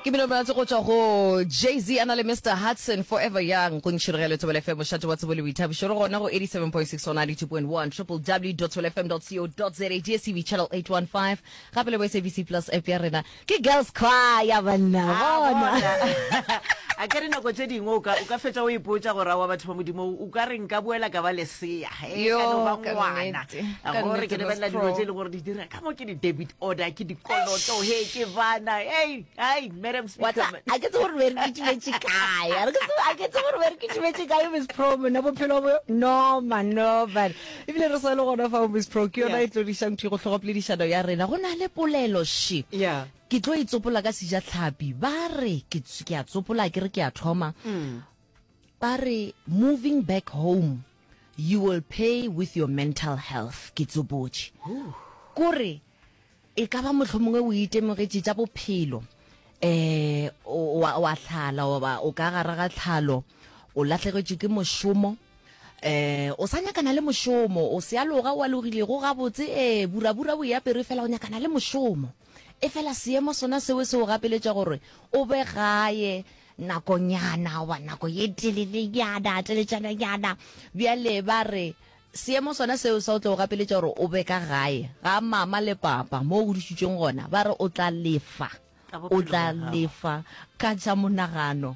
Ke mmino monate go tšwa go Jay-Z a na le Mister Hudson, Forever Young, go ntšhirogelo Thobela FM, mošate wa tsebo le boithabišo. Re gona go 87.6 go 92.1, www.thobelafm.co.za, DSTV channel 815, gape le bo SABC Plus app ya rena. Ke Girls Choir banna, A bona. bona. A ke re nako tše dingwe o ka o ka fetša o ipotša gore aowa batho ba Modimo o ka re nka boela ka ba lesea he Yo, ka no ba ka ngwana nnete. Ka gore nnete, ke Miss lebelela dilo Pro. tše e le gore di dira ka mo ke di-debit order ke dikoloto he ke bana hey ai madam Wa speaker tsa, man. a ke tsebe gore be re kitimetše kae. A re ke tsebe, a ke tsebe gore be re kitimetše kae Miss Pro mona bophelo bo no man no man. Ebile re sa le gona fao Miss Pro ke yona Yeah. e tlo dišang thwi go hlogo poledišano ya rena. Go na le polelo še. Yeah. Ke tlo e tsopola ka sejatlhapi. Ba re ke ke a tsopola ke re ke a thoma. Ba re moving back home you will pay with your mental health. Ke tsopotše. Kore E ka ba mohlomongwe o itemogetše tša bophelo, um o a, o a hlala goba o ka gare ga tlhalo, o lahlegetšwe ke mošomo, um o sa nyakana le mošomo, o sealoga o alogilego gabotse, ee, burabura o e apere fela o nyakana le mošomo. Efela seemo sona seo se o gapeletša gore o be gae nakonyana goba nako ye telelenyana, teletšananyana. Bjale ba re Seemo sona seo sa o tla o gapeletša gore o be ka gae ga mama le papa mo o godišitšweng gona, ba re o tla lefa, Ka o bophelo tla bja gago. lefa ka tša monagano.